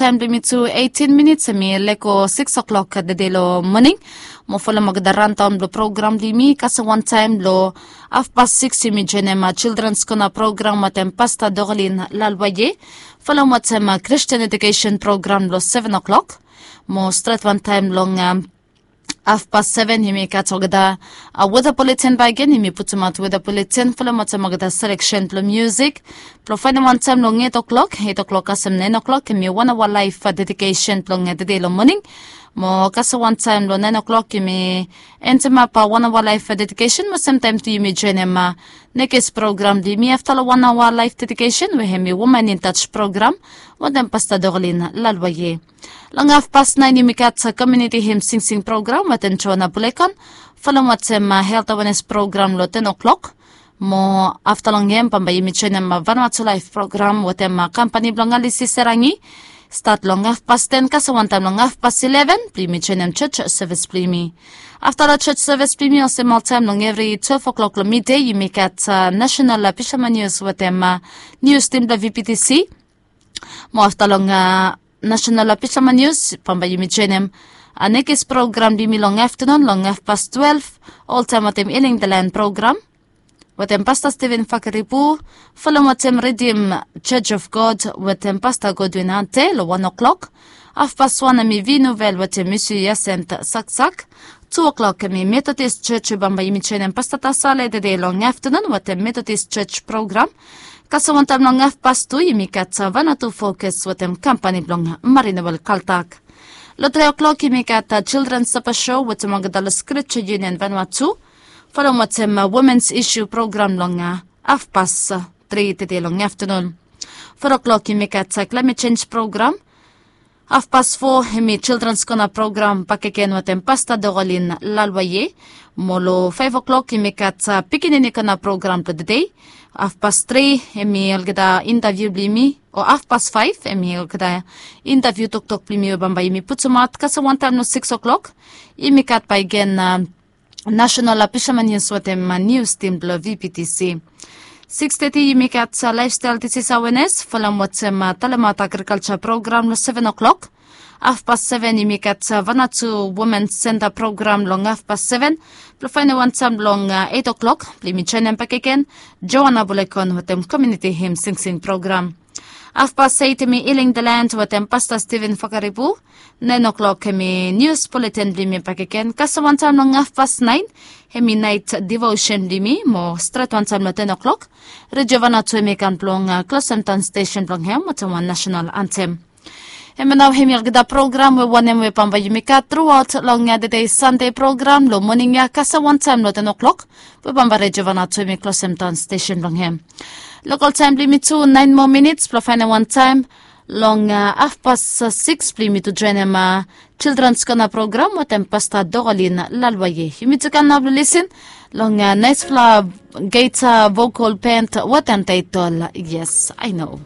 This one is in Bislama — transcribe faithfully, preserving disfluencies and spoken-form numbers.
Taem blong yumi tu eitin minits, hemi lego sikis o'klok tede long moning. Mo folem olgeta randaon blong program blong yumi kasem wantaem long afpas sikis, yumi joenem Children's Corner program wetem Pasta Dorlin Lalwaye. Folem wetem Christian Education program long seven o'klok. Mo stret wantaem long afpas seven, yumi gat olgeta weta buletin. Bakegen yumi putumaot weta buletin, folem wetem olgeta seleksen blong musik. Blong faenem wantaem long eit o'klok, eit o'klok kasem naen o'klok, hemi wan aoa laef dedikesen blong tede long moning. Mo kasem wantaem long naen o'klok yumi endemap wan aoa laef dedikesen, mo semtaem tu yumi joenem nekis program blong yumi afta long wan aoa laef dedikesen, we hemi Woman in Touch program wetem Pasta Dorlin Lalwaye. Long afpas naen yumi gat komiuniti him singsing program wetem Joana Bulekon. Folem wetem helt awenes program long ten o'klok. Mo afta long hem bambae yumi joenem Vanuatu Laef program wetem kampani blong Alisi Serangi. Stat long afpas ten kasem wantaem long afpas ileven blong yumi joenem jos sevis blong yumi. Afta long jos sevis blong yumi, olsem oltaem long evri twelve o'klok long mide, yumi gat nasenal pishaman nius wetem nius tim blong VPTC. Mo afta long nasenal pishaman nius bambae yumi joenem nekis program blong yumi long aftanun long afpas twelve, oltaem wetem Healing the Land program wetem Pasta Steven Fakaripu. Folem wetem Redeem Church of God wetem Pasta Godwin Ante long wan o'klok. Afpas wan hemi Vinuvel wetem Misi Yasent Saksak. Tu o'klok hemi Methodist Church, bambae yumi joenem Pasta Tasale tede long aftanun wetem Methodist Church program. Kasem wantaem long afpas tu yumi gat Vanuatu Focus wetem kampani blong Marina Wel Kaltak. Long tri o'klok yumi gat Children Supper Show wetem olgeta long Scripture Union Vanuatu. Folem wetem Women's Issue program long afpas tri tede long aftanun. Foa o'klok yumi gat Climate Change program. Afpas fo hemi Children's Corner program bakegen wetem Pasta Dorlin Lalwaye. Mo long faef o'klok yumi gat Pikinini Corner program blong tede. Afpas tri hemi olgeta intaviu blong yumi, o afpas faef hemi olgeta intaviu toktok blong yumi we bambae yumi putumaot. Kasem wantaem long sikis o'klok yumi gat bakegen nasenal pishaman nius wetem nius tim blong VPTC. Sikis teti yumi gat Lifestyle Disease Awareness folem wetem Talemaot Agrikalja program long seven o'klok. Afpas seven yumi gat Vanuatu Women Center program long afpas seven. Blong faenem wantaem long eit o'klok blong yumi joenem bakegen Joana Bulekon wetem komiuniti him singsing program. Afpas eit hemi Healing the Land wetem Pasta Steven Fakaripu. Naen o'klok hemi nius buletin blong yumi bakegen. Kasem wantaem long afpas naen hemi naet devosen blong yumi, mo stret wantaem long ten o'klok Redio Vanuatu hemi kam blong klosem daon stesen blong hem wetem wan nasenal antem. Hemia nao hemi olgeta program we wanem we bambae yumi gat truaot long tede Sande program long moning ya kasem wantaem long ten o'klok, we bambae Redio Vanuatu hemi klosem daon stesen blong hem. Lokol taem blong yumi tu naen moa minits blong faenem wantaem long afpas sikis blong yumi tu joenem Children's Corner program wetem Pasta Dorlin Lalwaye. Yumi tu kam nao blong lisin long naesfala gita vokol band wetem taetol Yes I Know.